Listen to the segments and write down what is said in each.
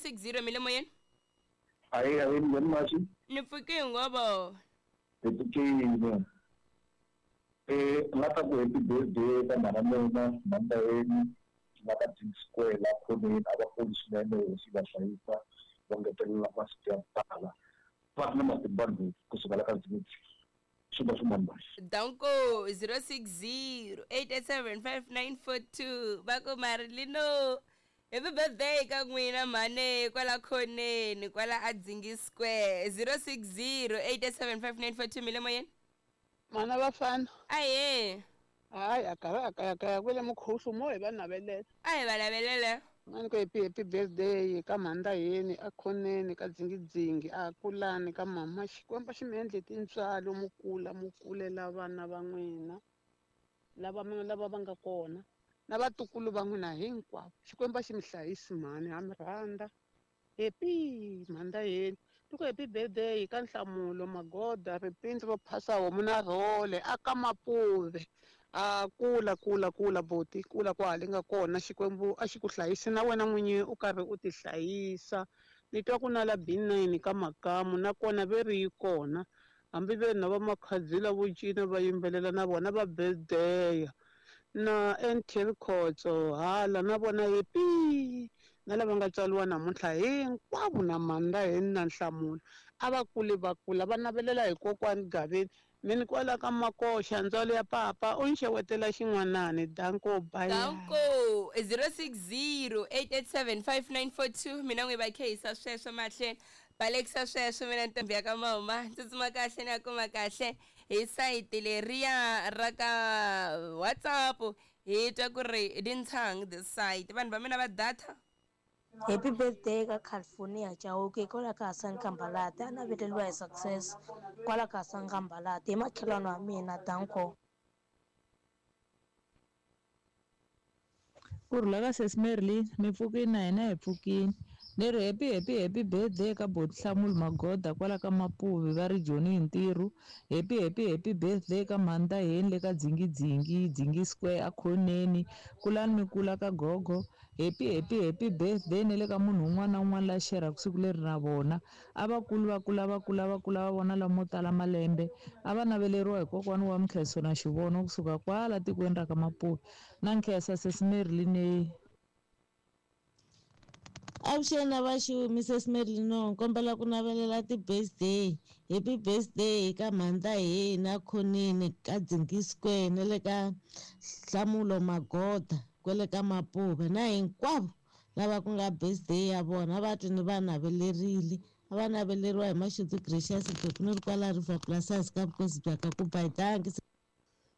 060 mi le moyeni. Ahee, ahee, minjhani Masi? Ni pfuke hi ngovo. Hi pfukile. Eh, ni nga ta ku happy birthday ka mhana mina, mhani Layeni, va ka Dean Square la khoneni, a va kuli swinene hosi yi va hlayisa, va ngetelela masiku ya ku tala. Va ri na matimba ngopfu kusuka la ka Dzingidzingi. Swi va swin'wana masi. Danko 060 887 5942 va ku Marilino happy birthday ka n'wina mhane kwala khoneni kwala a Dzingi Square 060 887 5942 mi le moyeni. Mhana vafana. Ahee. Hayi a karhi a kayakaya kwele mukhuhlu mo hi va navelela. A hi va navelela. A ni ku happy happy birthday ka mhani Ndaheni a khoneni ka dzingidzingi a kulani ka mama Xikwembu xi mi endle tintswalo mu kula mu kulela vana va n'wina lava mi lava va nga kona na vatukulu va n'wina hinkwavo Xikwembu a xi mi hlayisi mhani ha mi rhandza. Happy mhani Ndaheni ni ku happy birthday ka Nhlamulo Magoda ripindzi ro phasa homu na rhole a ka Mapuve a kula kula kula buti kula kwale nga kona Xikwembu a xi ku hlayisi na wena n'winyi u karhi u ti hlayisa ni twa ku na la B9 ka Makamu na kona ve ri yi kona hambi ve ri na va Makhadzila vo cina va yimbelela na vona va birthday na NT Rikhotso hala na vona happy na lava nga tswariwa namuntlha hinkwavo na Mandaheni na Nhlamulo a va kule va kula va navelela hi kokwani Gaveni mi ni kwala ka Makoxa ndzwalo ya papa u ni xewetela xin'wanani danko bye. Danko 060 887 5942 mina n'wi va khehisa sweswo mahlweni balekisa sweswo mina ntombi ya ka mama tsutsuma kahle ni ya kuma kahle hi sayiti leriya ra ka WhatsApp hi twa ku ri dintshang this side vanhu va mina va data. Happy birthday ka California Chauke kwala ka Hasani Kambalati a naveleliwa hi success kwala ka Hasani Kambalati hi makhelwani wa mina danko. Ku rhula ka sesi Merlin mi pfukini na hina hi pfukini ni ri happy happy happy birthday ka boti Nhlamulo Magoda kwala ka Mapuvi va ri Joni hi ntirho happy happy happy birthday ka mhani Ndaheni le ka Dzingidzingi Dzingi Square a khoneni kulani mi kula ka gogo happy happy happy birthday ne le ka munhu un'wana na un'wana la xerhaka siku leri na vona a va kuli va kula va kula va kula va vona lamo tala malembe a va naveleriwa hi kokwani wa Mkhenso na Xivono kusuka kwala tikweni ra ka Mapuvi na nkhensa sesi Merlin. Avuxeni na vaxu Mrs Merlin kombela ku navelela ti-birthday happy birthday ka mhani Ndaheni khoneni ka Dzingi Square na le ka Nhlamulo Magoda kwele ka Mapuve na hinkwavo lava ku nga birthday ya vona va twi ni va navelerile a va naveleriwa hi Mashudu Gracious Beku ni ri kwala River Plasas ka vukosi bya ka ku bayitangi.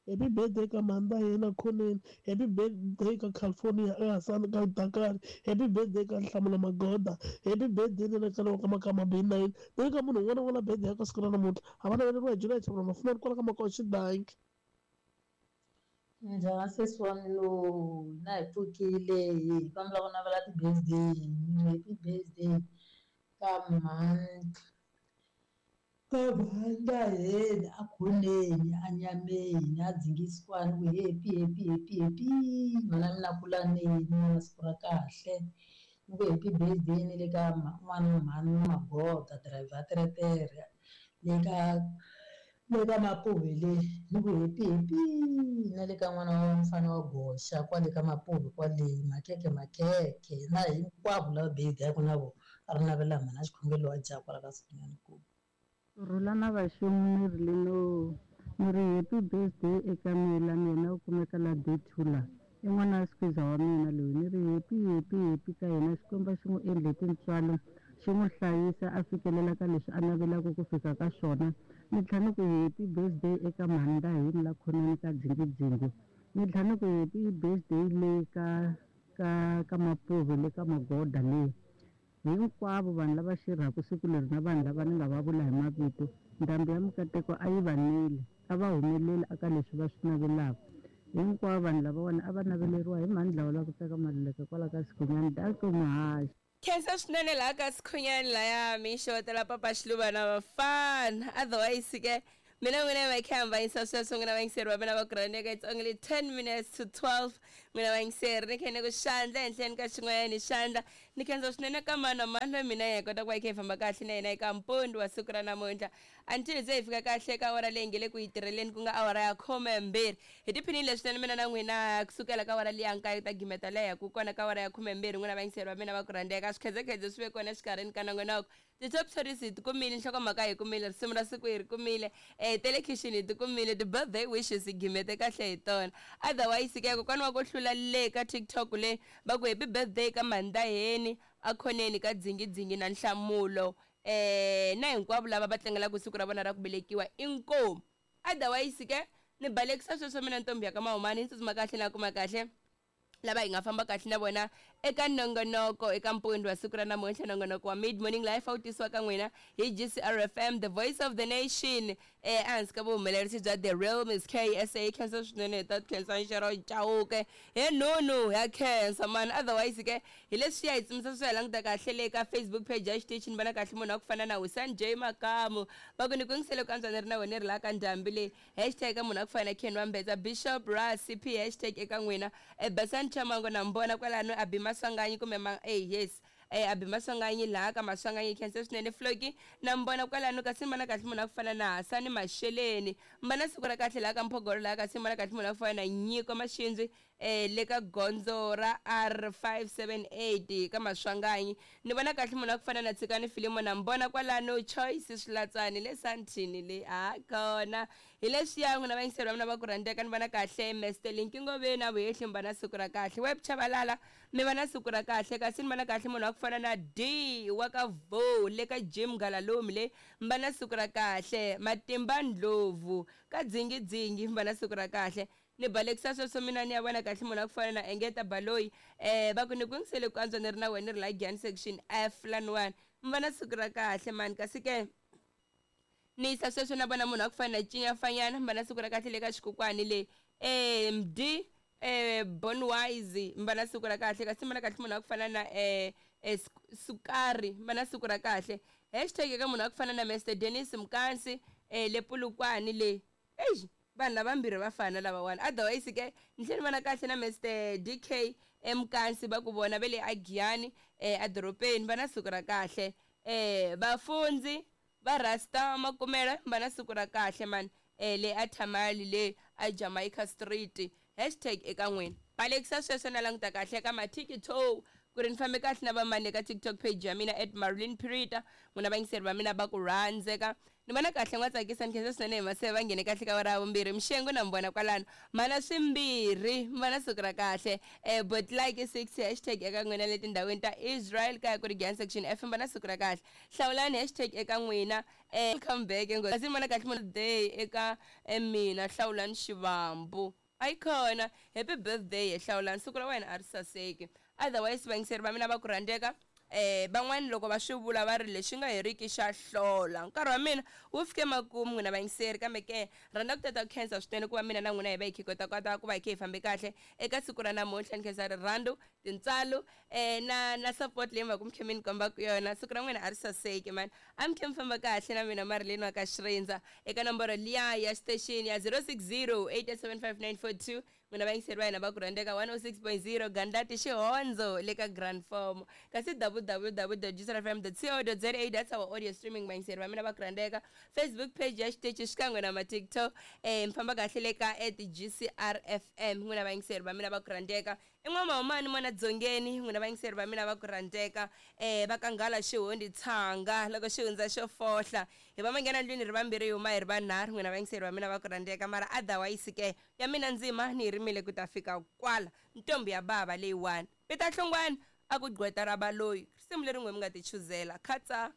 Happy birthday ka mhani Ndaheni khoneni happy birthday ka California eHasani ka Dakar happy birthday ka Nhlamulo Magoda happy birthday ni le ka ka Makama B9 ni le ka munhu un'wana na un'wana birthday ya ka siku ra namuntlha a va naveleriwa hi July Chavula Mafumani kwala ka Makoxi Danki. Njhani sesi wa mina na hi pfukile hi kombela ku navela ti-birthday happy birthday ka mhani ka mhani Ndaheni a khoneni a nyameni a dzingisiwani ku happy happy happy happy mhana mina kulaneni na siku ra kahle ni ku happy birthday ni le ka n'wana mhani Magoda driver teretere le ka le ka Mapuve le ni ku happy happy na le ka n'wana wa mfana wa Goxa kwale ka Mapuve kwale makhekhe makhekhe na hinkwavo lava birthday na vona a ri navela mhana xikhongelo wa jaha kwala ka Sinyani ku Rhula na vaxu Merlin ni ri happy birthday eka mina mina u kumeka la D2 la i n'wana wa squeezer wa mina loyi ni ri happy happy happy ka yena Xikwembu xi n'wi endle tintswalo xi n'wi hlayisa a fikelela ka leswi a navelaka ku fika ka swona ni tlhela ni ku happy birthday eka mhani Ndaheni la khoneni ka Dzingidzingi ni tlhela ni ku happy birthday le ka ka ka Mapuve le ka Magoda le hinkwavo vanhu lava xirhaka siku leri na vanhu lava ni nga va vula hi mavito ndhambi ya mikateko a yi va neli a va humeleli aka leswi va swi navelaka hinkwavo vanhu lavawani a va naveleriwa hi mhani dlawa la ku tsaka Maluleke kwala ka Sikhunyani danko muhaxi. Khensa swinene laha ka Sikhunyani laya mi xewetela papa Xiluva na vafana otherwise ke Mina n'wina va kha hambanyisa sweswo, n'wina vayingiseri va mina va ku rhandzeka. It's only 10 minutes to 12, n'wina vayingiseri. Ni kha ni ku xandla henhleni ka xin'wanyana xandla. Ni khensa swinene ka mani na mani loyi mina hi kota ku va hi kha hi famba kahle na yena eka mpundzu wa siku ra namuntlha, until se hi fika kahle ka awara leyi nge le ku yi tirheleni, ku nga awara ya 12. Hi tiphinile swinene mina na n'wina kusukela ka awara liya 9 ta gimeta leya ku kona ka awara ya 12. N'wina vayingiseri va mina va ku rhandzeka, swikhedzekhedze swi ve kona exikarhini ka nongonoko. Ti-top stories hi ti kumile, nhlokomhaka hi kumile, risimu ra siku hi ri kumile, telekhixini hi ti kumile, ti-birthday wishes hi gimete kahle hi tona. Otherwise ke, kokwana wa ku hlula le ka TikTok le va ku happy birthday ka Mandaheni akhoneni ka Dzingidzingi na Nhlamulo, na hinkwavo lava va tlangelaka siku ra vona ra ku velekiwa. Inkomu. Otherwise ke, ni balekisa sweswo mina ntombi ya ka Mahumani, ni tsutsuma kahle na kuma kahle lava hi nga famba kahle na vona eka nongonoko eka mpundzu wa siku ra namuntlha. Nongonoko wa Mid Morning Life a wu tisiwa ka n'wina hi GCR FM, the voice of the nation, ehansi ka vuhumelerisi bya The Real Miss KSA. Khensa swinene hi ta khensa Nxero Chauke he nunu ya khensa mani. Otherwise ke, hi leswiya hi tsimisa swi hi languta kahle le ka Facebook page ya xitichi. Ni vona kahle munhu wa ku fana na Husan J Makamu, va ku ni ku yingisele ku antswa ni ri na wena, ni ri laha ka ndhambi leyi. Hashtag ka munhu wa ku fana na Ken Wambetsa, Bishop Ra CP, hashtag eka n'wina. Basani Chamango na mbona kwalano, Abi Maswanganyi kumbe ma yes, Abi Maswanganyi laha ka Maswanganyi, khensa swinene. Floki na mbona kwalano. Kasi ni vona kahle munhu wa ku fana na Hasani Masheleni, mbana siku ra kahle laha ka Mphogolo laha. Kasi ni vona kahle munhu wa ku fana na Nyiko Maxindzi, le ka gondzo ra R578 ka Maswanganyi. Ni vona kahle munhu wa ku fana na Tshikani Filimo na mbona kwalano. Choice Swilatsani le Santini le a kona. Hi leswiya, n'wina vayingiseri va mina va ku rhandzeka. Ni vona kahle Mr Linkingoveni a Vuhehli, mi va na siku ra kahle. Web Chavalala, mi va na siku ra kahle. Kasi ni vona kahle munhu wa ku fana na D wa ka Vo le ka Jim Galalumi le, mi va na siku ra kahle. Matimba Ndlovu ka Dzingidzingi, mi va na siku ra kahle. Ni balekisa sweswo mina ni ya vona kahle munhu wa ku fana na Engeta Baloyi, va ku ni ku yingisele ku antswa ni ri na wena, ni ri la Giyani section F laniwani, mi va na siku ra kahle mani. Kasi ke ni yisa sweswo na vona munhu wa ku fana na Cinya Fanyana, mi va na siku ra kahle le ka xikukwani le. Md Bonwise, mi va na siku ra kahle. Kasi mi vona kahle munhu wa ku fana na Sukari, mi va na siku ra kahle. Hashtag eka munhu wa ku fana na Mr Dennis Mkansi, le Pulukwani le. Eish, vanhu lavambirhi va fana lavawani. Otherwise ke, ni tlhela ni vona kahle na Mr DK Emkansi, va ku vona ve le Agiyani, edorobeni, va na siku ra kahle. Vafundzi va Rasta Makumela, va na siku ra kahle mani, le a Thamali le a Jamaica Street. Hashtag eka n'wina. Balekisa sweswo na languta kahle ka maTikTok ku ri ni fambe kahle na vamani eka TikTok page ya mina @MarilynPirita. N'wina vayingiseri va mina va ku rhandzeka, ni vona kahle n'wa tsakisa. Ni khensa swinene hi maseve va nghene kahle ka ra vumbirhi. Mxengu na mi vona kwalano, mana swimbirhi, mi va na siku ra kahle. But like 6, hashtag eka n'wina le tindhawini ta Israel kaya ku ri Giyani section F, mi va na siku ra kahle. Hlawulani, hashtag eka n'wina. Welcome back ngo. Kasi ni vona kahle munhu day eka mina Hlawulani Xivambu, ayikhona. Happy birthday he Hlawulani, siku ra wena a ri saseki. Otherwise, vayingiseri va mina va ku rhandzeka, van'wani loko va swi vula va ri lexi nga heriki xa hlola. Nkarhi wa mina wu fike makumu, n'wina vayingiseri, kambe ke rhandza ku tata ku khensa swinene ku va mina na n'wina hi va hi kha hi kota kota ku va hi kha hi fambe kahle eka siku ra namuntlha. Ni khensa rirhandzu, tintswalo, na support leyi mi va ku mi kha mi ni kombaka yona. Siku ra n'wina a ri saseki mani. A mi kha mi famba kahle na mina Marilyn wa ka Xirindza eka nomboro liya ya station ya 060 875 942. N'wina vayingiseri va hina va ku rhandzeka, 106.0 Gandlati Xihondzo le ka Grand Form, kasi www.gcrfm.co.za, that's our audio streaming. Vayingiseri va mina va ku rhandzeka, Facebook page ya xitichi xikan'we na maTikTok, mi famba kahle le ka @GCRFM. N'wina vayingiseri va mina va ku rhandzeka, i N'wamahumani Mona Dzongeni. N'wina vayingiseri va mina va ku rhandzeka, va ka Nghala Xihundi Tshanga, loko xi hundza xo fohla hi va manghena ndlwini ri vambirhi, hi huma hi ri vanharhu. N'wina vayingiseri va mina va ku rhandzeka, mara otherwise ke, ya mina ndzima ni yi rimile ku ta fika kwala. Ntombi ya bava leyiwani, Peter Hlongwane a ku gqweta ra baloyi, risimu leri n'we mi nga ti chuzela khatsa.